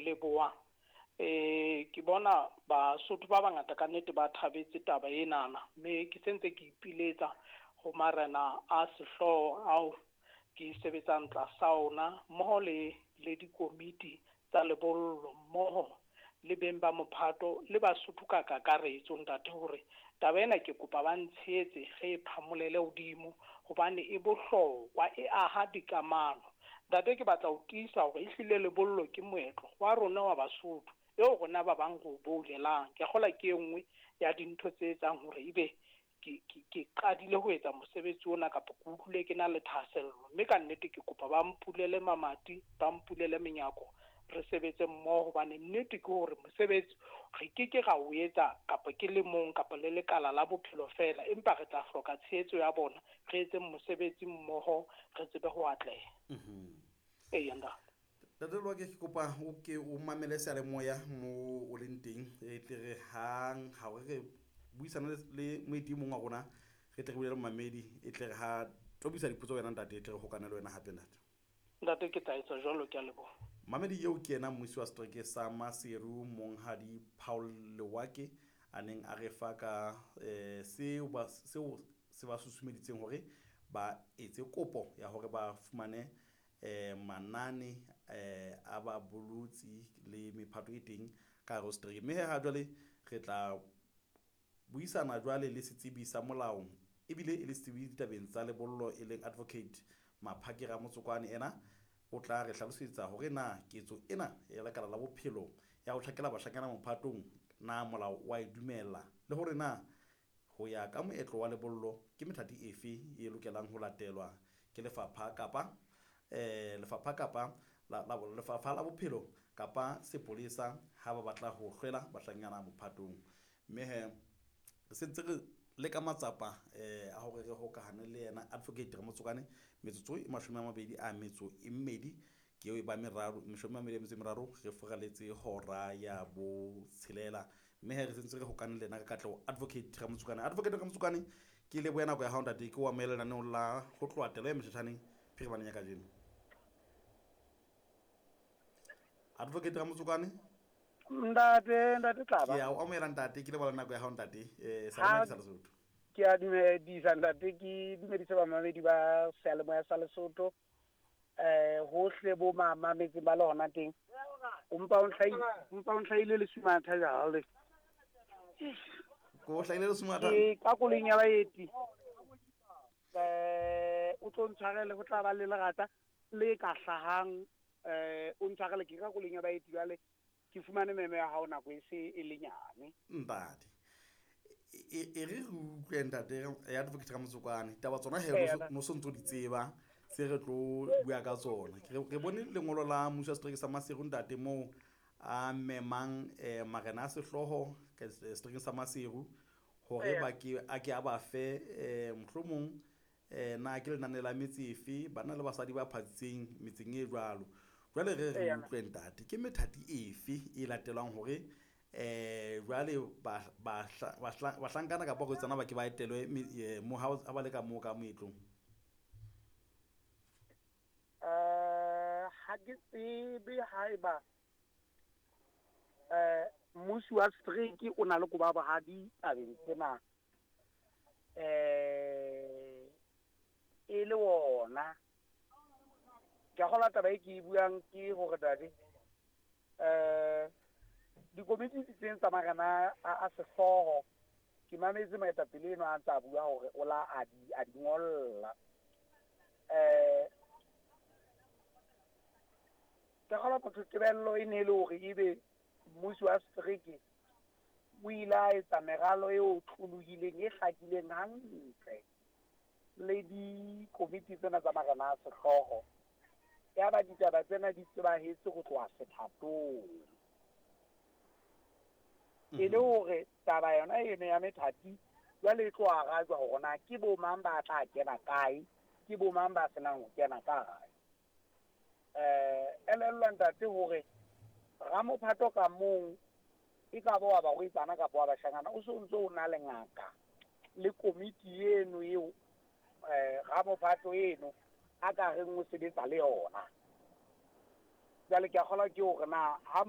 leboha. Ke bona Basotho ba bangata ka nnete ba thabetse taba enana, mme ke sentse ke ipiletsa ho marena a sehlooho ao ke sebetsang tlasa ona, mmoho le dikomiti tsa lebollo, mmoho le beng ba mophato le Basotho ka kakaretso ntate, hore taba ena ke kopa ba ntshehetse re e phamolele hodimo hobane e bohlokwa, e aha dikamano. Ntate, ke batla ho tiisa hore ehlile lebollo ke moetlo wa rona wa Basotho eo rona ba bang re o boulelang. Ke kgolwa ke e nngwe ya dintho tse etsang hore ebe ke qadile ho etsa mosebetsi ona, kapa ke utlwile ke na le thahasello, mme ka nnete ke kopa ba mpulele mamati, ba mpulele menyako, re sebetse mmoho, hobane nnete ke hore mosebetsi re ke ke ra o etsa kapa ke le mong kapa le lekala la bophelo fela, empa re tla hloka tshehetso ya bona, re etse mosebetsi mmoho, re tsebe ho atleha. Eya ntate. Ntate Lewake, ke kopa o ke o mamele seyalemoya mo o leng teng, e tle re hang ha re re buisana le moeti e mong wa rona, re tle re bule le momamedi, e tle re ha tobisa dipotso wena ntate, e tle re hokane le wena hape ntate. Ntate, ke tla etsa jwalo, ke a leboha. Mamedi eo ke yena mmusi wa setereke sa Maseru, Monghadi Paul Lewake, a neng a re fa ka seo se ba susumeditseng hore ba etse kopo ya hore ba fumane manane a ba bolotsi le mephato e teng ka hare ho setereke. Mme ha jwale re tla buisana jwale le setsebi sa molao, ebile e le setsebi ditabeng tsa lebollo, e leng Advocate Maphake Ramotsokwane. Ena o tla re hlalosetsa hore na ketso ena ya lekala la bophelo ya ho tjhakela bashanyana mophatong, na molao wa e dumela, le hore na ho ya ka moetlo wa lebollo ke methati efe e lokelang ho latelwa ke lefapha kapa lefapha kapa lefapha la bophelo kapa sepolesa ha ba batla ho hlwela bashanyana mophatong. Mme he re sentse re leka matsapa a hore re hokahane le yena Advocate Ramotsokwane. Metsotso e 22 ke eo e ba meraro, 23 re furaletse hora ya botshelela. Mme he re sentse re hokane le yena ka katleho Advocate Ramotsokwane. Advocate Ramotsokwane, ke leboha nako ya hao ntate, ke o amohele lenaneong la ho tloha telo ya motjhatjhaneng phirimaneng ya kajeno. Advocate Ramotsokwane. Ntate, ntate Tlaba. Ke a o amohela ntate, ke leboha nako ya hao ntate. Sa sa Lesotho. Ke a dumedisa ntate, ke dumedise bamamedi ba seyalemoya sa Lesotho. Hohle bo mamametseng ba le hona teng. O mpa o ntlhaile le sumatha jwale. Ko hlahile le sumatha? Ke ka koloing ya baeti. O tlo ntshwarele, ho tla ba le lerata le ka hlahang, o ntshwarele, ke ka koloing ya baeti jwale. Ke fumane memo ya hao nako e se e le nyane. Ntate, e re re utlwe ntate ya Advocate Ramotsokwane, taba tsona he no so ntso di tseba tse re tlo bua ka tsona. Re bone lengolo la mmuso wa setereke sa Maseru ntate, moo a memang marena a sehlooho seterekeng sa Maseru hore ba ke a ke a ba fe mohlomong na ke lenane la metse efe, banna le basadi ba phatsitseng metseng e jwalo. Jwale re re utlwe ntate, ke methati efe e latelwang hore jwale bahlankana kapa barwetsana ba ke ba etelwe mo ha ba le ka moo ka moetlong? Ha ke tsebe haeba mmusi wa setereke o na le koba bohadi tabeng tsena. E le wona. Ke a kgolwa taba e ke e buang ke hore tate, dikomiti di teng tsa marena a sehlooho. Ke mametse moetapele enwa a ntse a bua hore o la a di ngolla. Ke kgolwa motho tebello e ne e le hore ebe mmusi wa setereke o ile a etsa meralo e otlolohileng, e hlakileng hantle le dikomiti tsena tsa marena a sehlooho. Ya ba ditaba tsena di tsebahetse ho tloha sethatong. E le hore taba yona eno ya methati jwale e tlo arajwa hore na ke bo mang ba tla kena kae, ke bo mang ba senang ho kena kae. Elellwa ntate hore ramophato ka mong e ka ba wa barwetsana kapa wa bashanyana, o so ntso o na le ngaka le komiti eno eo ramophato eno a ka reng o sebetsa le yona. Jwale ke a kgolwa ke hore na ha